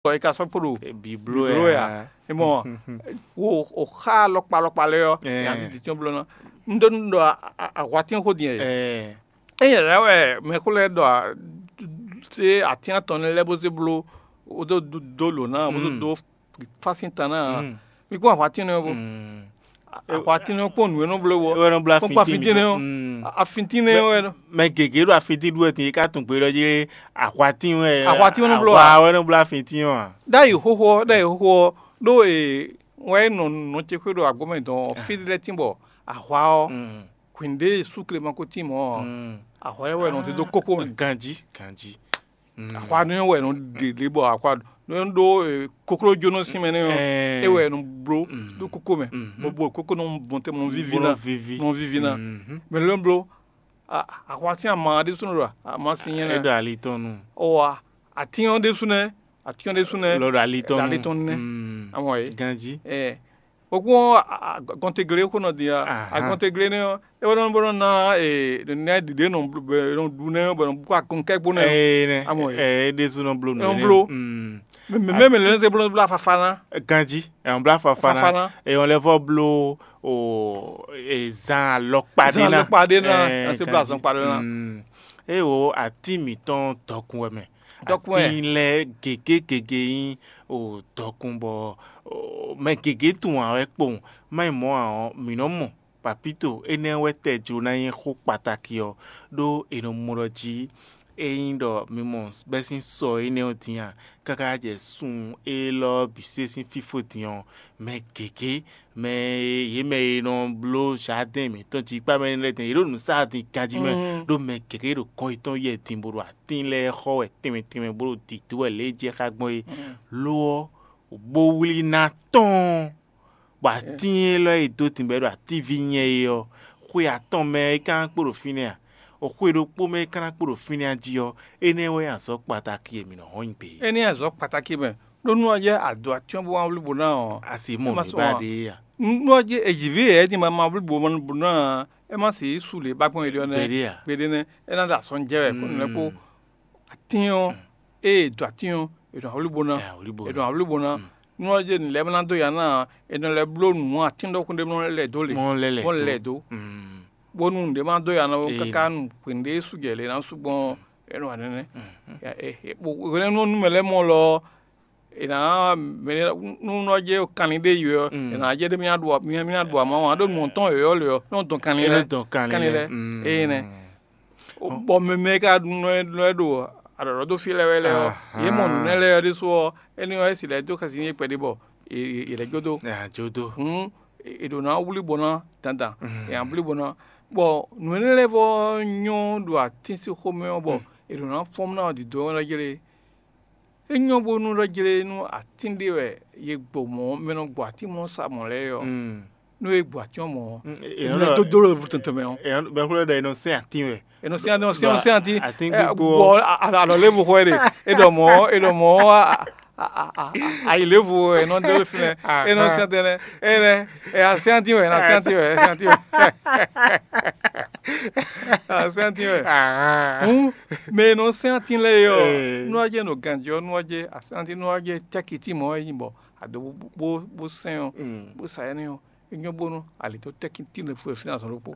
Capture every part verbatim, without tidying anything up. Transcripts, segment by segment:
bɔ è ka sɔ́ kpo ɖo bǐbló wɛ ǎ. É mɔ, wo o xa alɔkpa alɔkpa lɛ́ɛ ɔ́, nya ti titɔn bló ná. Un ɖó nú ɖɔ ahwatín xó din ɛ. Ényí lɛ̌ wɛ mɛxó lɛ́ɛ ɖɔ sé atín atɔn nɛ́ lɛ́ɛ bó zé bló, bó dó dó lǒ ná, bó dó dó fásín tan ná ǎ. Mi kpɔ́n ahwatín nɛ́ ɔ́ bó. Ahwatín nɛ́ ɔ́ kpɔ́n nǔ e nɔ bló wɔ. É wɛ nɔ bló kpɔ́n afintín afíntín nɛ́ ɔ́. Afíntín nɛ́ ɔ́ wɛ nɔ. Mɛ gěgé ɖo afintín ɖú wɛ din, é ka tunwun gbeyíɖɔ jí ahwatín wɛ. Ahwatín wɛ nɔ bló a? Ahwa wɛ nɔ bló afintín ɔ́ a? Ɖ'ayǐ xóxó ɔ́, ɖ'ayǐ xóxó ɔ́, ɖó e wɛ é nɔ nɔ ce xwé ɖo agbɔ̌ mɛ dɔn ɔ́, fí ɖé lɛ́ɛ tín bɔ ahwa ɔ́, hwǐn ɖé súkle ma ko tín mɔ̌ ɔ́, ahwa ɛ wɛ nɔ zé dó kókó mɛ. Ganjí, ganjí. Ahwa nɛ́ wɛ nɔ ɖe ɖě bɔ ahwa nɔ ɖó koklójónɔ sín mɛ nɛ́ ɔ́, é wɛ nɔ bló ɖó kókó mɛ, bó bó kókó nɔ bɔn tɛn nɔ víví ná, nɔ víví ná. Mɛ lɛ́ nɔ bló ahwa sín ama ɖésúnɔ ɖo ama sín nyɛ é nɛ́. Ɖo ali tɔn nu. Ɔwa atín ɔ́ ɖésú nɛ́, atín ɔ́ ɖésú nɛ́. Lɔ ɖo ali tɔn nu. Ali tɔn nɛ́. Amɔ é. Ganjí. Ɛ, okun ɔ́, agɔntegle xó nɔ din a. Agɔntegle nɛ́ ɔ́, é wɛ nɔ bó nɔ ná nɛ́ ɖiɖe nɔ nɔ ɖu nɛ́ ɔ́ bɔ nɔ bú agɔnkɛ́ gbó nɛ́ ɔ́. Ee nɛ. Amɔ é. Ɛ é ɖésú nɔ bló nǔ. Nɔ bló. Mɛ mɛ mɛ lɛ se bló bló afafa ná. Ganjí, ɛ nɔ bló afafa ná. Afafa ná. Ɛ nɔ lɛ vɔ bló o zan alɔkpa ɖé ná. Zan alɔkpa ɖé ná. Ɛ se bló azɔn kpa ɖé ná. Eye wo atín mǐtɔn dɔkun wɛ mɛ. Dɔkun wɛ. Atín lɛ́ɛ gěgé gěgé nyí o dɔkun bɔ mɛ gěgé tunwun ǎ wɛ kpowun. Má nyí mɔ̌ ǎ ɔ́, mǐ nɔ́ mɔ papíto énɛ́ wɛ tɛ jló ná nyí xó kpatáki ɔ́, ɖó è nɔ mɔ ɖɔ jí ényí ɖɔ mi mɔ bɛ́ sín sɔ énɛ́ ɔ́ din a, káká jɛ sun élɔ́ bǐ se sín fífó din ɔ́, mɛ gěgé mɛ e yě mɛ e nɔ bló zǎdɛ́n mǐtɔn jí kpá mɛ lɛ́ɛ din, yě ɖo nǔ sa din ganjí mɛ, ɖó mɛ gěgé ɖo kɔn yětɔn yɛ din bó ɖo atín lɛ́ɛ xɔ wɛ tɛnmɛ tɛnmɛ bó ɖo dǐdó wɛ lě e jɛ xá gbɔn é. Lo ɔ́, bó wlí ná tɔ́ɔ́n, bɔ atín élɔ́ e dó din bɔ é ɖo atíví nyɛ é ɔ́, xwe atɔn mɛ é ka ná kpo ɖo fínɛ́ a? O xwe ɖokpó mɛ é ka ná kpo ɖo fínɛ́ a jí ɔ́, énɛ́ wɛ nyí azɔ̌ kpatáki e mǐ nɔ hɔn nyi gbě é. Énɛ́ azɔ̌ kpatáki mɛ, ɖó nú ɔ́ jɛ adǒ atyɔ́ bó wá wlí bó ná ɔ́, a se mɔ nǔ ba ɖe é a? Nú ɔ́ jɛ èjǐví e é din ma ma wlí bó ná ɔ́, é má se yí su lě ba gbɔn é ɖiɔ nɛ́. Gbeɖé a? Gbeɖé nɛ́, é ná ɖo asɔn jɛ wɛ kó nǔ lɛ́ɛ kpó. Atín ɔ́, ée è dǒ atín ɔ́, è nɔ wlí bó ná. È wlí bó è nɔ wlí bó ná. Nú ɔ́ jɛ nǔ lɛ́ɛ ná dó ya ná ɔ́, è nɔ lɛ́ bló nǔ atín ɖɔkun ɖé mɔ lɛ́ dó lě. Mɔ lɛ́ lɛ́ mɔ dó. Lɛ́ dó. Bónú nǔɖé má dó ya ná ó káká nu hwenu ɖé sujɛ lě ná sú gbɔn ɔ́, é nɔ wa nɛnɛ. Hwɛnɛ́nu ɔ́ nú mɛ lɛ́ɛ mɔ lɔ ɔ́, è nǎ mɛ nú nɔ jɛ kanlin ɖé yi wɛ ɔ́, è nǎ jɛ ɖé mì ná ɖu mì ná ɖu ama ɔ́, ǎ ɖo nǔ ɔ́ tɔn yɔ̌yɔ́ lɛ ɔ́, nɔ dɔn kanlin lɛ́ɛ. Kanlin lɛ́ɛ. Éyɛ́ nɛ́. Bɔ mɛ mɛ e ka nɔ ɛ ɖo aɖɔ̌ɖɔ́ dó fí lɛ́ɛ wɛ lɛ́ɛ ɔ́, yě mɔ nǔ nɛ́ lɛ́ɛ ɔ́ ɖésú ɔ́, énɛ́ ɔ́, é si lɛ́ dó xɛsi n'i kpɛɖé bɔ è lɛ́ jó dó. Jó dó. Hǔn è ɖǒ ná wlí bó ná dandan, è nǎ blí bó ná. Bɔ nǔ énɛ́ lɛ́ɛ vɔ nyɔ́ ɖo atín sín xomɛ ɔ́, bɔ è ɖǒ ná fɔ́n ná ɔ́ dǐdó ɔ́ jlé. É nyɔ́ bónú ɖɔ jlé nú atín ɖé wɛ ye gbo mɔ̌ mɛ nɔ gbo atín mɔ̌ sa mɔ̌ lɛ́ɛ ɔ́, nú é gbo atín ɔ́ mɔ̌ ɔ́, è nɔ dó dó ɖo vutɔntɔn mɛ ɔ́. Bɛ́ xwlɛ́ ɖɔ è nɔ sɛ́n atín wɛ. È nɔ sɛ́n atín, è nɔ sɛ́n atín, atín gbígbó bɔ alɔ lé bu xɔ ɛ ɖe. É ɖɔ mɔ̌, é ɖɔ mɔ̌, ayi lě bu ɛ nɔ dó fínɛ́. É nɔ sɛ́n tɛnɛ. É nɛ, ɛ asɛ́n atín wɛ, ɛ asɛ́n atín wɛ, ɛ asɛ́n atín wɛ. Asɛ́n atín wɛ. Hǔn mɛ e nɔ sɛ́n atín lɛ́ɛ é ɔ́, nú ɔ́ jɛ nɔ ganjɛ ɔ́, nú ɔ́ jɛ asɛ́n atín, nú ɔ́ jɛ cɛ́kití mɔ̌ é nyí bɔ ado bó bó sɛ́n ɔ́, bó sa ɛnɛ́ ɔ́, é nyɔ́ bónú ali tó tɛ́kití lɛ́ɛ fú ɛ fínɛ́ azɔn ɖokpó.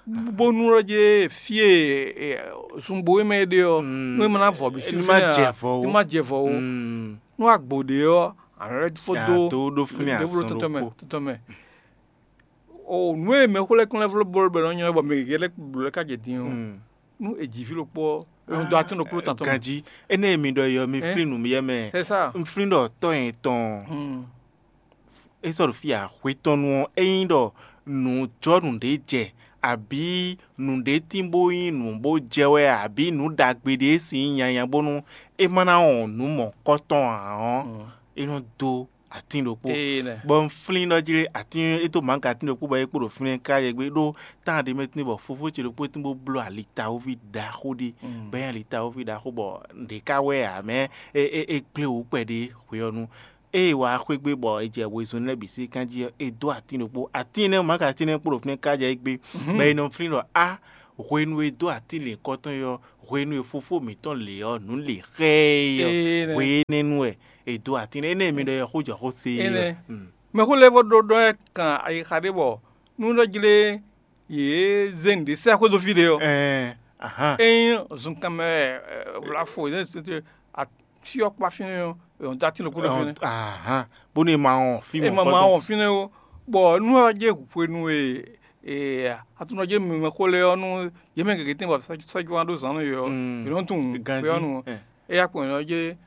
Bónú ɔ́ jɛ fí e zunbo e mɛ é ɖe ɔ́, nú é ma ná vɔ bǐ sí ní ma jɛ vɔ ó. Ní ma jɛ vɔ ó. Nú agbo ɖě ɔ́, ànɔ lɛ́ fó dó dó ɖó fínɛ́ azɔn ɖokpó. Tɔn mɛ. O nǔ e mɛxó lɛ́ɛ kún lɛ́ vló bló bɔ è nɔ nylɔ́ bɔ mɛ gěgé lɛ́ɛ bló lɛ́ ká jɛ din ɔ́, nú è jǐ fí ɖokpó ɔ́, è nɔ dó atín ɖokpó tɔn tɔn mɛ. Ganjí, énɛ́ e mi ɖɔ é ɔ́, mi flín nǔ mi yɛ mɛ. C'est ça. Un flín ɖɔ tɔ́ nyɛ tɔn. É sɔ́ ɖo fí axwé tɔn nu ɔ́, ényí ɖɔ nǔ jɔ nǔɖé jɛ, abǐ nǔɖé tín bó nyí nǔ bó jɛ wɛ, abǐ nǔ ɖagbe ɖé sin nyí nyanya bónú é má ná wɔn nǔ mɔ̌kɔtɔn ǎ ɔ́, é nɔ dó atín ɖokpó. Bɔ un flín ɖɔ jí atín é dó mǎga atín ɖokpó bɔ é kpo ɖo fínɛ́ káká yɛ gbé ɖó tán ɖé mɛ tín bɔ fofó ce ɖokpó tín bó bló alitawóvi ɖaxó ɖé, bɔ é nyí alitawóvi ɖaxó bɔ ɖě ká wɛ ǎ mɛ é é gblé wǔ kpɛɖé hwe ɔ́ nu. Ée wǎ xwé gbe bɔ è jɛ wezun lɛ́ɛ bǐ sí kán jí ɔ́, è dó atín ɖokpó. Atín énɛ́, mǎga atín énɛ́ kpo ɖo fínɛ́ káká jɛ é gbé, bɔ è nɔ flín ɖɔ á Hwenu e dó atín lěkɔ́tɔn é ɔ́, hwenu e fofó mǐtɔn lě ɔ́, nǔ lě xá ɛ é ɔ́, Ee, nɛ́. Hwe énɛ́ nu wɛ è dó atín lɛ́ɛ. Énɛ́ mi ɖɔ é xó jɔ xó se é ɔ́. Énɛ́. Mm. Mɛxó lɛ́ɛ vɔ ɖó ɖɔ ɛ kan ayixa ɖé bɔ nú ɖɔ jlé yě zé nǔɖé sɛ́ xwé dó fí ɖé ɔ́. Ɛɛ, ahán. Ényí zunkan mɛ vlafo yě zé asyɔ́ kpa fínɛ́ ɔ́, è nɔ dó atín ɖokpó ɖo fínɛ́. Ahán. Bónú è ma wɔn fí È mɔ̌ ma ma kpɔ́tɔ́. Wɔn fínɛ́ ó, bɔ nú ɔ́ jɛ hwenu e e atunɔ jɛ mɛxó lɛ́ɛ ɔ́ nú yě mɛ gěgé tɛ́n bɔ sɛ́jɔ́ ná ɖó zǎn nú yě ɔ́, Mm. Yě nɔ tunwun Ganjí, fí ɔ́ nu. Ɛ. É yá kpɔn yě nɔ jɛ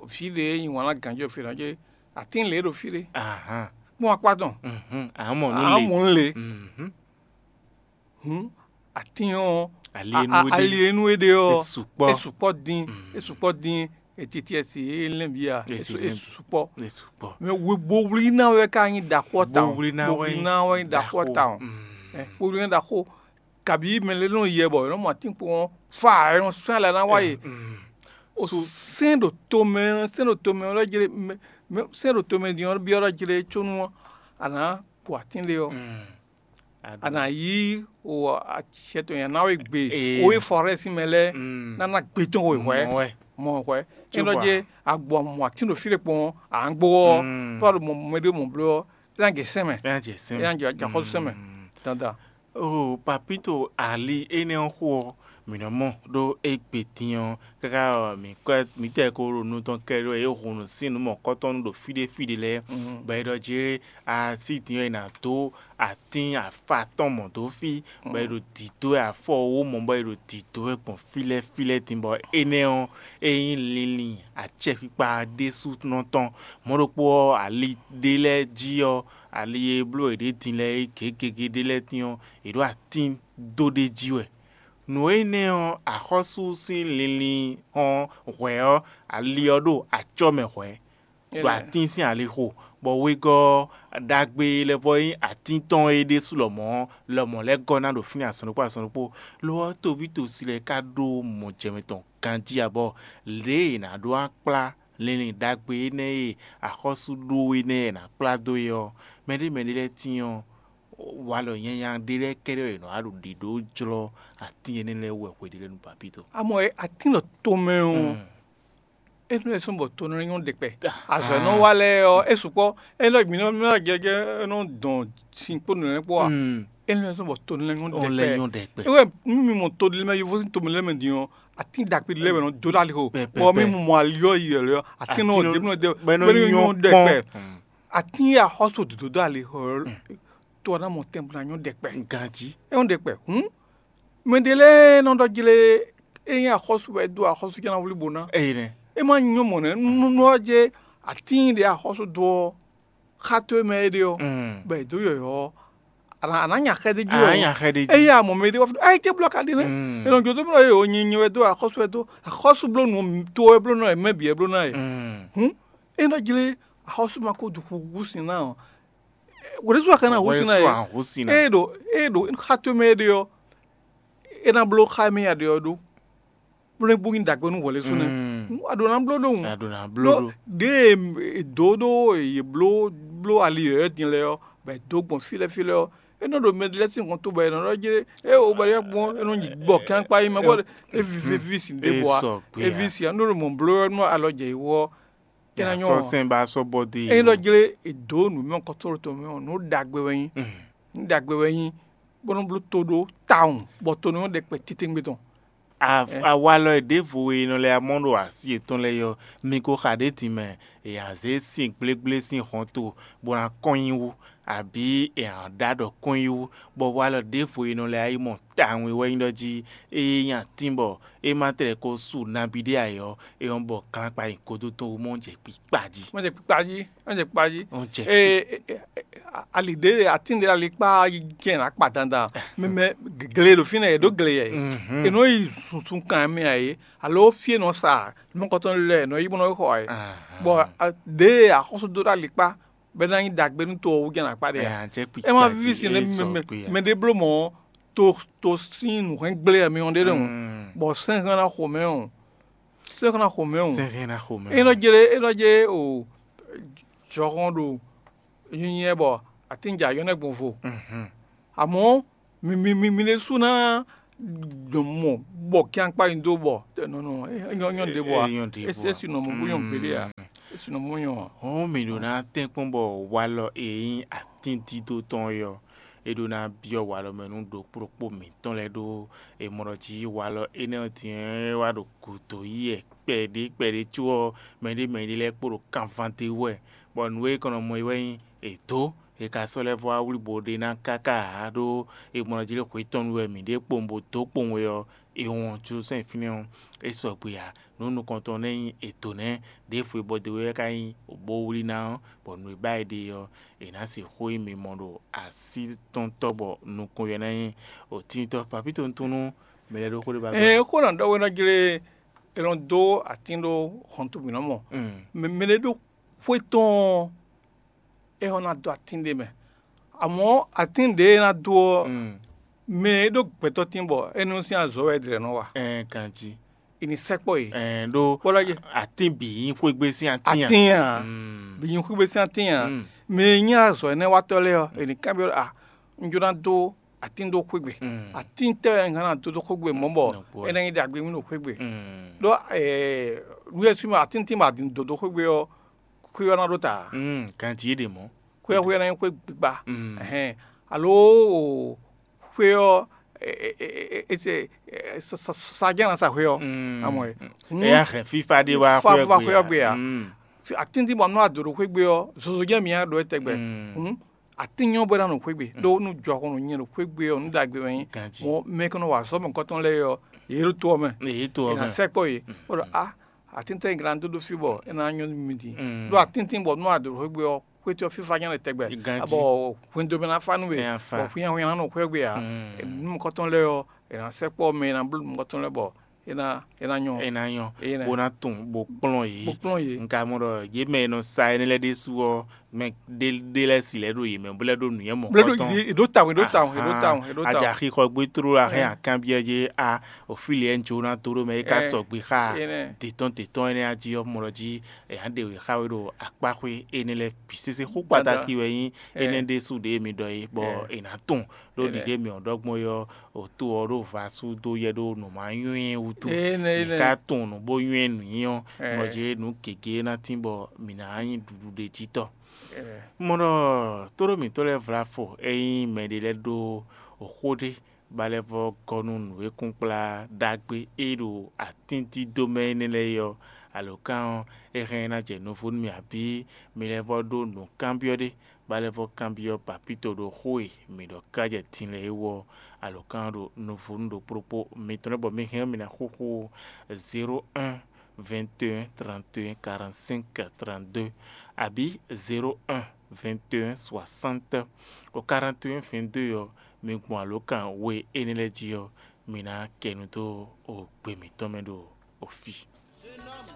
fí ɖě nyi wǎn ná gǎnjɔ fě nɔ jɛ atín lě ɖo fí ɖé. Ahán. Kpɔ́n akpá tɔn. Mhm. Amɔ nú Amɔ le. Nú le. Mhm. Hǔn atín ɔ́, Ali e nú a- é a- ɖe. Ali e nú é ɖe ɔ́, É sukpɔ́. É sukpɔ́ dín, Mm. É sukpɔ́ dín etitiɛsi e lɛ́n bǐ a, É é si su- é lɛ́n bǐ. Sukpɔ́. É sukpɔ́. Mɛ we bowlí ná wɛ ká nyí ɖaxó ɔ́ tawun. Bowlí ná wɛ Bowlí nyí ná wɛ nyí ɖaxó ɔ́ ɖaxó. Tawun. Mm. Ɛ, bowlí ná ɖaxó kabi mɛ lé nɔ yɛ bɔ yɔnɔ mɔ atínkpo ɔ́ fa yɔnɔ sɔn ala ná wá yě. Mm. O Su- sɛn ɖo tomɛ, sɛn ɖo tomɛ ɔ́ lɔ jlé, mɛ- mɛ- sɛn ɖo tomɛ din ɔ́ byɔ́ lɔ jlé tsónú ɔ́, a nǎ bu atín lé ɔ́. Mm. A nǎ yí o acɛ tɔn nyi anáwé gbe Ee. O e fɔrɛ́ sín mɛ lɛ́ɛ Mm. Ná ná gbe tɔn we hwɛ̌. Mɔ wɛ. Mɔ hwɛ̌. Cóbɔ Cóbɔ a- a gbɔ mɔ atín ɖo fí ɖé kpɔn ǎ gbó ɔ́, Mm. Tó a ɖo mɔ mɛ ɖé mɔ bló ɔ́, é ná jɛ sɛn mɛ. É ná jɛ sɛn É ná jɛ jɛ axɔ́sú sɛn mɛ. Mm. Dandan. Oh, Papito Ali énɛ́ ɔ́ xó ɔ́, mǐ nɔ mɔ ɖó égbé din ɔ́, káká ɔ́, mǐ kɔ mǐtɛɛ ko ɖo nu tɔn kɛ ɖó é hun nǔ sín nǔ mɔ̌kɔtɔn ɖo fí ɖé fí ɖé lɛ́ɛ, Mhm. Bɔ é ɖɔ jé afí din ɔ́, è nǎ dó atín afá tɔn mɔ̌ dó fí, bɔ è ɖo dǐdó wɛ afɔ wó mɔ, bɔ è ɖo dǐdó wɛ gbɔn fí lɛ́ɛ fí lɛ́ɛ din, bɔ énɛ́ ɔ́, é nyí linlin acɛkpikpa ɖésúnɔ tɔn. Mɔ̌ ɖokpó ɔ́, ali ɖé lɛ́ɛ jí ɔ́, ali e bló yě ɖě din lɛ́ɛ é gěgégé ɖé lɛ́ɛ tín ɔ́, yě ɖo atín dó ɖ'é jí wɛ. Nǔ énɛ́ ɔ́, axɔ́sú sín linlin ɔ́ hwɛ̌ ɔ́, ali ɔ́ ɖo acɔ́ mɛ hwɛ̌, ɖo atín sín alixo, bɔ wegɔ́ ɖagbe lɛ́ vɔ nyí atín tɔn é ɖésú lɔmɔ̌ ɔ́, lɔmɔ̌ lɛ́ gɔ́ ná ɖo fínɛ́ azɔn ɖokpó azɔn ɖokpó. Lo ɔ́, tovítɔ́sí lɛ́ɛ ka ɖó mɔjɛmɛ tɔn ganjí ǎ, bɔ lě e è nǎ ɖó ná kplá linlin ɖagbe énɛ́ e axɔ́sú ɖó énɛ́ e è nǎ kplá dó é ɔ́, mɛɖé mɛɖé lɛ́ɛ tíin ɔ́, walɔ nyanya ɖé lɛ́ɛ kɛ́ɖɛ́ wɛ è nɔ wá ɖo ɖiɖǒ jlɔ́ atín énɛ́ lɛ́ɛ wú wɛ hweɖélɛ́nu papítɔ. Amɔ e atín ɖo tomɛ ɔ́, é nɔ sɔn bɔ to nɔ nyɔ́ ɖɛkpɛ. Azɔ̌ e nɔ wa lɛ́ɛ ɔ́, é sukpɔ́. É nɔ mǐ nɔ mǐ nɔ jɛjɛ é nɔ dɔn sin kpó nǔ lɛ́ɛ kpó a? É nɔ sɔn bɔ to nɔ nyɔ́ Ó lɛ́ ɖɛkpɛ. Nyɔ́ ɖɛkpɛ. É wɛ nú mi mɔ to ɖé mɛ yovo sín to mɛ lɛ́ɛ mɛ din ɔ́, atín ɖagbe lɛ́ɛ wɛ nɔ dó ɖó ali xo. Pɛpɛpɛ. Bɔ mi mɔ ali ɔ́ yi wɛ lɛ ɔ́, atín nɔ Atín nɔ- ɖe nɔ ɖe bɔ é nɔ bɔ é nɔ nyɔ́ nyɔ́ ɖɛkpɛ. Kpɔ́n. Atín e axɔ́sú dǒdó ali xɔ ɔ́, to ɔ́ ná mɔ tɛn bó ná nyɔ́ ɖɛkpɛ. Ganjí. É nyɔ́ ɖɛkpɛ. Hǔn mɛ ɖé lɛ́ɛ nɔ ɖɔ jlé é nyí axɔ́sú wɛ é dó axɔ́sú jɛ́n ná wlí bo ná. Eyi nɛ. É má nyɔ́ mɔ̌ nɛ́ nú nú ɔ́ jɛ atín ɖě axɔ́sú dó ɔ́, xá tó e mɛ é ɖe ɔ́, Mm. Bɔ è dǒ yɔ̌yɔ́ ɔ́, a nǎ a nǎ nya xɛ d'é jí Ǎ nya xɛ d'é jí. Ényí a mɔ mɛ ɖé wá fún ɛ é blɔ́ ka ɖe nɛ́. Mm. É nɔ jó dó blɔ́ é o nyi nyi wɛ dó axɔ́sú wɛ dó axɔ́sú bló nú to wɛ bló nɔ è mɛ bǐ wɛ bló ná e. Mm. Hǔn é nɔ jlé axɔ́sú ma ko ɖu xúxú sin ná ɔ́, wǒ ɖésú a ka ná hú sin ná e. Wǒ ɖésú a hú sin ná. É ɖo é ɖo xá tó e mɛ é ɖe ɔ́, é ná bló xá e mɛ a ɖe ɔ́ ɖó. Bó nɔ́ bú nyí ɖagbe nú hwɛ̌ lɛ́ɛ sú nɛ́. Mm. A ɖǒ ná bló ɖó wǔ. A ɖǒ ná bló ɖó. Ɖěe è dǒ ɖó yě bló bló ali yɔ̌yɔ́ din lɛ́ɛ ɔ́, bɔ è dǒ gbɔn fí lɛ́ɛ fí lɛ́ɛ ɔ́, é nɔ ɖo mɛ lɛ́ɛ sín hɔn tó bɔ è nɔ ɖɔ jé é o bɔ é gbɔn é nɔ nyi gbɔ kán kpá yi mɛ bɔ é vi- é ví sin ɖěbǔ a. Sɔgbe É a. Vi sin a nú ɖo mɔ bló ɔ́ nú alɔ jɛ yi wú ɔ́, é ná nyɔ́ Sɔ ɔ́. Sɛn ba sɔ́ bɔ dé. É nɔ jlé è dǒ nǔ mɛ kɔtɔ́ tɔn mɛ ɔ́, nǔ ɖagbe wɛ nyí. Mm. Nǔ ɖagbe wɛ nyí, bó nɔ́ bló to ɖó tawun, bɔ to nɔ nyɔ́ ɖɛkpɛ titewungbe tɔn. A- Ɛ. Awalɔ e ɖěvo e nɔ lɛ́ mɔ ɖo asi yětɔn lɛ́ɛ ɔ́, mi ko xa ɖě din mɛ, è nǎ zé sin gblégblé sín hɔnto bó ná kɔn nyi wú, abǐ è nǎ ɖó aɖɔ kɔn nyi wú, bɔ walɔ ɖěvo e nɔ lɛ́ yi mɔ tawun e wɛ nyí ɖɔ jí é nyí atín bɔ é ma tlɛ ko su nabí ɖé ǎ é ɔ́, é nyɔ́ bɔ glán kpa nyi godó tɔn wú mɔ jɛ kpikpa jí. Mɔ jɛ kpikpa jí, mɔ jɛ kpikpa jí. Mɔ jɛ Ee, e- e- e- a- ali ɖě atín ɖě ali kpá yi jɛ nǎ kpa dandan. Mɛ mɛ gle ɖo fínɛ́ yě ɖó gle yɛ. Mhm. È nɔ yi sunsun kan mɛ ǎ é, alo fí e nɔ sa mɔkɔtɔn lɛ è nɔ yi bó nɔ yi xɔ ǎ é. Ahán. Bɔ a- ɖě axɔ́sú dó ɖó ali kpá bɔ é ná nyí ɖagbe nú to ɔ́ wú jɛ nǎ kpa ɖe Ɛ, ǎ. Ǎ jɛ kpikpa Ɛ má jí, víví sin é lé sɔ mɛ- kpé ǎ. Mɛ ɖé bló mɔ to to sín nǔhɛn gblé ɛ mɛ ɔ́ ɖé lɛ́ɛ hǔn. Mm. Bɔ sɛ́n hɛn ná xo mɛ ɔ́, sɛ́n hɛn ná xo mɛ ɔ́. Sɛ́n hɛn ná xo mɛ É nɔ ɔ́. Jlé é nɔ jlé o jɔhɔn ɖo nyinyɛ bɔ atínjà yɔ́ nɛ́ gbɔn vo. Mhm. Amɔ̌ mi mi mi mi ɖésú ná Dɔn mɔ bɔ kíankpá nyi dó bɔ nɔ nɔ é nyɔ nyɔ ɖe bɔ a. É nyɔ ɖe bɔ a. É si nɔ mɔ bó nyɔ gbeɖé a. É si nɔ mɔ nyɔ a. Hɔn mǐ ɖo ná tɛ́nkpɔ́n bɔ walɔ e nyí atíndídó tɔn é ɔ́, é ɖó ná byɔ́ walɔ mɛ nú ɖokpó ɖokpó mǐtɔn lɛ́ɛ ɖó è mɔ ɖɔ jí walɔ énɛ́ ɔ́ din ɔ́, é wá ɖo gǔdo yi wɛ kpɛɖé kpɛɖé có ɔ́, mɛɖé mɛɖé lɛ́ɛ kpo ɖo kanván d'é wú wɛ, bɔ nǔ e è kɔn nɔ mɔ é wɛ nyí è dǒ. È ka sɔ́ lɛ́ vɔ́ wá wlí bo ɖe ná káká ǎ, ɖó è mɔ ɖɔ jí ɖé hwe tɔn nu wɛ mǐ ɖe kpowun bo dǒ kpowun wɛ ɔ́, è wɔn Jeluzalɛ́mu fínɛ́ ɔ́, é sɔgbe ǎ. Nǔ nukɔntɔn nɛ́ nyí è dǒ nɛ́, ɖěvo e bɔ dó wɛ ka nyí bó wlí ná ɔ́, bɔ nǔ e ba è ɖe ɔ́, è nǎ sixú nyí mimɔ ɖo así tɔn tɔ́ bɔ nukɔn yɛ ná nyí òtíntɔ́. Papíto nú mɛ lɛ́ɛ ɖó xó ɖé ba gbɔ. Ɛ xó nɔ ɖɔ wɛ nɔ jlé è nɔ dó atín ɖó hɔnto mǐ nɔ mɔ. Mm. Mɛ mɛ ɖé ɖó xwé tɔn ɔ́, é hɔn ná dó atín ɖé mɛ. Amɔ̌ atín ɖě e ná dó ɔ́, Mm. mɛ e ɖó gbɛtɔ́ tín bɔ é nɔ sín azɔ̌ wɛ è ɖlɛ̌ nɔ wa. Ɛn ganjí. È nǐ sɛkpɔ́ yě. Ɛn ɖó Bó lɔ́ yé. Atín bǐ nyí xwégbé sín atín a? Atín a? Mm. Bǐ nyí xwégbé sín atín a? Mm. Mɛ e nyí azɔ̌ énɛ́ watɔ́ lɛ́ɛ ɔ́, è nǐ kanbyɔ́ ɖɔ a, un jló ná dó atín dó xwégbé. Mm. Atín tɛ́ wɛ un hɛn ná dó dó xwégbé mɔ̌ bɔ Nɔgbó. É ná nyí ɖagbe mì ɖo xwégbé. Mm. Ɖó nú é sú mɛ atín tín bɔ a din dǒ dó xwégbé ɔ́, xwé ɔ́ ná ɖó ta ǎ. Mm, ganjí é ɖe mɔ̌. Xwé ɔ́ xwé ɔ́ ná nyí xwé gbigba. Mm. Ɛhɛn. Alo xwé ɔ́, e- e- e- e- e- se- e- sa- sa- sa jɛ́n ná sa xwé ɔ́. Mm. Amɔ ɛ. Mm. Hǔn É yá hɛn fífá ɖé wá fa- xwé fa ɔ́ xwé ɔ́ gbe gbe a? a. Mm. Atín tín bɔ nú a dǒ ɖo xwé gbe ɔ́, zozo jɛ́n mi á ɖó é tɛgbɛ. Mm. Hǔn atín nyɔ́ bɔ é ná nɔ xwé gbe. Ɖó nú jɔhɔn nɔ nyɛ ɖo xwé gbe ɔ́, nú ɖagbe wɛ nyí. Ganjí. Mɔ mɛ kɔn nɔ wa azɔ̌ mɔ̌kɔtɔn lɛ́ɛ ɔ́, yě ɖo to ɔ́ mɛ. Èyí tó È ɔ́ nǎ mɛ. Sɛkpɔ́ yě. Bó ɖɔ a, atín tɛ́ glán dó ɖó fí bɔ é ná nyɔ́ nú mi din. Mm. Ɖó atín tín bɔ nú a dǒ ɖo xwé gbe ɔ́, xwé tɔ́ fífá nyɛ lɛ tɛgbɛ. Ganjí. Bɔ hwendómɛ ná fá nú we. Nya fa. Bɔ xwínyáxwínyá ná nɔ xwé gbe ǎ. Mm. Nú mɔ̌kɔtɔn lɛ́ɛ ɔ́, è nǎ sɛkpɔ́ mɛ e ná bló mɔ̌kɔtɔn lɛ́ɛ bɔ é ná é ná nyɔ. É ná nyɔ, É ná. Bó ná tunwun bó kplɔ́n yě. Bó kplɔ́n yě. Un ka mɔ ɖɔ yě mɛ e nɔ sa énɛ́ lɛ́ɛ ɖésú ɔ́, mɛ ɖé ɖé lɛ́ɛ si lɛ́ɛ ɖo yě mɛ bó lɛ́ ɖó nǔnywɛ́ Blo mɔ̌kɔtɔ́n. È ɖó tawun, è ɖó tawun, è ɖó tawun, è ɖó tawun. Aja xixɔ gbé tló la hɛn Ɛ. Akanbyɔ́ jɛ a, òfíli ɛ ń jó ná dó ɖó mɛ é ka Ɛ. Sɔgbe xá Énɛ́. Dǐtɔn dǐtɔn énɛ́ á jí ɔ́, mɔ ɖɔ jí è nǎ ɖe wě xá we ɖo akpáxwé énɛ́ lɛ́ɛ bǐ sésé. Xó Dandan. Kpatáki wɛ nyí Ɛ. Énɛ́ ɖésú ɖě mi ɖɔ é, bɔ Ɛ. È nǎ tunwun ɖó Énɛ́. Ɖiɖe mi ɔ́ ɖɔgbɔn é ɔ́, òtó ɔ́ ɖó va sú dó yɛ ɖó nǔ ma nywɛ́ wútu. Énɛ́, Mǐ énɛ́. Ka tunwun nǔ bó nywɛ́ nǔnywɛ́ ɔ́, Ɛ. Mɔ jě nǔ gěgé ná tín bɔ mǐ ná nyí ɖuɖu ɖe jí tɔ́. Ɛ. Mɔ ɖɔ tóɖó mǐtɔn lɛ́ɛ vla fɔ é nyí mɛɖé lɛ́ɛ ɖó xó ɖé ba lɛ́ vɔ́ gɔ́ nú nǔ e kún kplá ɖagbe e ɖo atíndídó mɛ énɛ́ lɛ́ɛ é ɔ́, alǒkan ɔ́, é hɛn ná jɛ nuvo nú mì abǐ mi lɛ́ vɔ́ ɖó nǔkanbyɔ́ ɖé, ba lɛ́ vɔ́ kanbyɔ́ papíto ɖo xó e mǐ ɖɔ ká jɛ din lɛ́ɛ é wú ɔ́, alǒkan ɔ́ ɖo nuvo nú ɖokpó ɖokpó mitɔn lɛ́ɛ bɔ mi hɛn ɔ́ mi ná xúxú zéro un vingt et un trente et un quarante-cinq trente-deux abǐ zéro un vingt et un soixante quarante et un vingt-deux ɔ́, mi gbɔn alǒkan we énɛ́ lɛ́ɛ jí ɔ́, mi ná kɛ nu dó gbe mǐtɔn mɛ ɖo fí.